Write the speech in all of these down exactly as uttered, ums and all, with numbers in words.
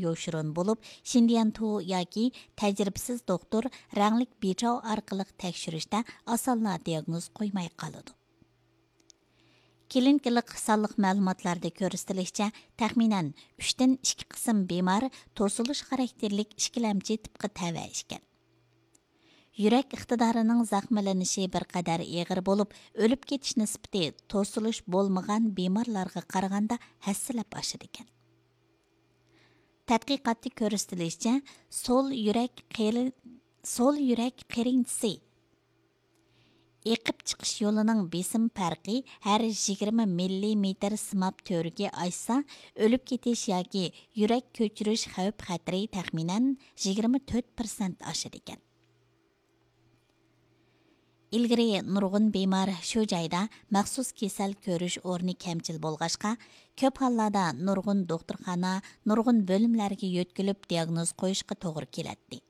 يوشۇرۇن بولۇپ، شىندىيەنتۇ ياكى تەجرىبىسىز دوختۇر رەڭلىك بىچاۋ ئارقىلىق تەكشۈرۈشتە ئاسانلا دىياگنوز قويماي قالىدۇ. كلىنىكىلىق سانلىق مەلۇماتلاردا كۆرسىتىلىشىچە، تەخمىنەن ئۈچتىن ئىككى قىسىم بىمار توسۇلۇش خاراكتېرلىك ئىككىلەمچى تىپقا تەۋە ئىكەن. يۈرەك ئىقتىدارىنىڭ زەخىملىنىشى بىر قەدەر ئېغىر بولۇپ، ئۆلۈپ كېتىش نىسبىتى توسۇلۇش بولمىغان بىمارلارغا قارىغاندا ھەسسىلەپ ئاشىدىكەن. تەتقىقاتتا كۆرسىتىلىشىچە، سول يۈرەك قېرى-، سول يۈرەك قېرىنچىسى ئېقىپ چىقىش يولىنىڭ بېسىم پەرقى ھەر يىگىرمە مىللىمېتىر سىماب تۈۋرۈكى ئاشسا، ئۆلۈپ كېتىش ياكى يۈرەك كۆچۈرۈش خەۋپ خەتىرى تەخمىنەن يىگىرمە تۆت پىرسەنت ئاشىدىكەن. ئىلگىرى نۇرغۇن بىمار شۇ جايدا مەخسۇس كېسەل كۆرۈش ئورنى كەمچىل بولغاچقا، كۆپ ھاللاردا نۇرغۇن دوختۇرخانا، نۇرغۇن بۆلۈملەرگە يۆتكىلىپ دىياگنوز قويۇشقا توغرا كېلەتتى.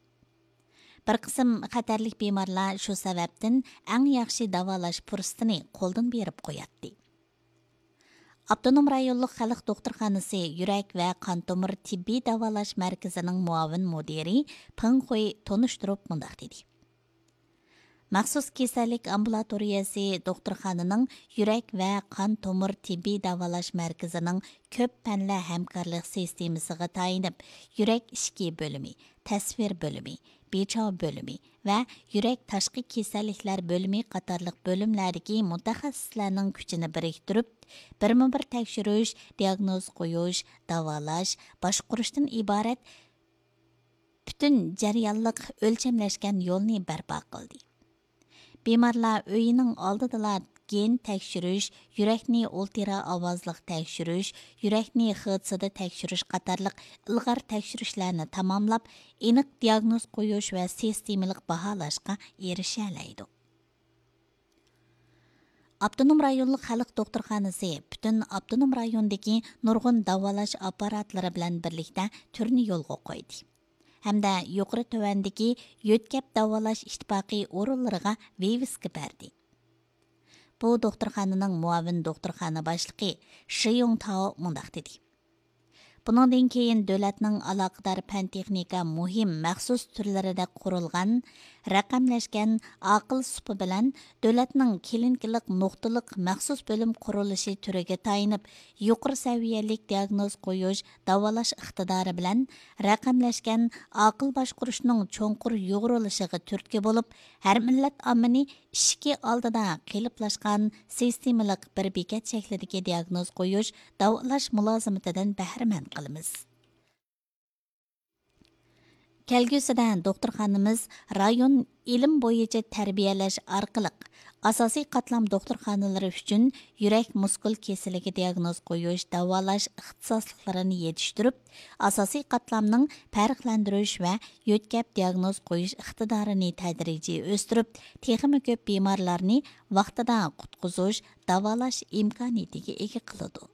بىر قىسىم خەتەرلىك بىمارلار شۇ سەۋەبتىن ئەڭ ياخشى داۋالاش پۇرسىتىنى قولدىن بېرىپ قوياتتى. ئاپتونوم رايونلۇق خەلق دوختۇرخانىسى يۈرەك ۋە قان تومۇر تېببىي داۋالاش مەركىزىنىڭ مۇئاۋىن مۇدىرى پېڭ خۇي تونۇشتۇرۇپ مۇنداق دېدى: مەخسۇس كېسەللىك ئامبۇلاتورىيەسى دوختۇرخانىنىڭ يۈرەك ۋە قان تومۇر تېببىي داۋالاش مەركىزىنىڭ كۆپ پەنلەر ھەمكارلىق سىستېمىسىغا تايىنىپ، يۈرەك ئىچكى بۆلۈمى، تەسۋىر بۆلۈمى، بىچاۋ بۆلۈمى ۋە يۈرەك تاشقى كېسەللىكلەر بۆلۈمى قاتارلىق بۆلۈملەردىكى مۇتەخەسسىسلەرنىڭ كۈچىنى بىرىكتۈرۈپ، بىرمۇبىر تەكشۈرۈش، دىياگنوز قويۇش، داۋالاش، باشقۇرۇشتىن ئىبارەت پۈتۈن جەريانلىق ئۆلچەملەشكەن يولنى بەرپا قىلدى. بىمارلار ئۆيىنىڭ ئالدىدىلا گېن تەكشۈرۈش، يۈرەكنى ئۇلترا ئاۋازلىق تەكشۈرۈش، يۈرەكنى خىتسىدا تەكشۈرۈش قاتارلىق ئىلغار تەكشۈرۈشلەرنى تاماملاپ، ئېنىق دىياگنوز قويۇش ۋە سىستېمىلىق باھالاشقا ئېرىشەلەيدۇ. ئاپتونوم رايونلۇق خەلق دوختۇرخانىسى پۈتۈن ئاپتونوم رايوندىكى نۇرغۇن داۋالاش ئاپپاراتلىرى بىلەن بىرلىكتە تۈرنى يولغا قويدى ھەمدە يۇقىرى تۆۋەندىكى يۆتكەپ داۋالاش ئىتتىپاقى ئورۇنلىرىغا ۋىۋىسكا بەردى. بۇ دوختۇرخانىنىڭ مۇئاۋىن دوختۇرخانا باشلىقى شى يۇڭ تاۋ مۇنداق دېدى: بۇنىڭدىن كېيىن دۆلەتنىڭ ئالاقىدار پەن تېخنىكا مۇھىم مەخسۇس تۈرلىرىدە قۇرۇلغان رەقەملەشكەن ئاقىل سۇپا بىلەن دۆلەتنىڭ كلىنىكىلىق نۇقتىلىق مەخسۇس بۆلۈم قۇرۇلۇشى تۈرىگە تايىنىپ، يۇقىرى سەۋىيەلىك دىياگنوز قويۇش، داۋالاش ئىقتىدارى بىلەن رەقەملەشكەن ئاقىل باشقۇرۇشنىڭ چوڭقۇر يۇغۇرۇلۇشىغا تۈرتكە بولۇپ، ھەر مىللەت ئاممىنى ئىشىكى ئالدىدا قېلىپلاشقان سىستېمىلىق بىر بېكەت شەكلىدىكى دىياگنوز قويۇش، داۋالاش مۇلازىمىتىدىن بەھرىمەن قىلىمىز. كەلگۈسىدە دوختۇرخانىمىز رايون ئىلىم بويىچە تەربىيەلەش ئارقىلىق، ئاساسىي قاتلام دوختۇرخانىلىرى ئۈچۈن يۈرەك مۇسكۇل كېسىلىگە دىياگنوز قويۇش، داۋالاش ئىختىساسلىقلىرىنى يېتىشتۈرۈپ، ئاساسىي قاتلامنىڭ پەرقلەندۈرۈش ۋە يۆتكەپ دىياگنوز قويۇش ئىقتىدارىنى تەدرىجىي ئۆستۈرۈپ، تېخىمۇ كۆپ بىمارلارنى ۋاقتىدا قۇتقۇزۇش، داۋالاش ئىمكانىيىتىگە ئىگە قىلىدۇ.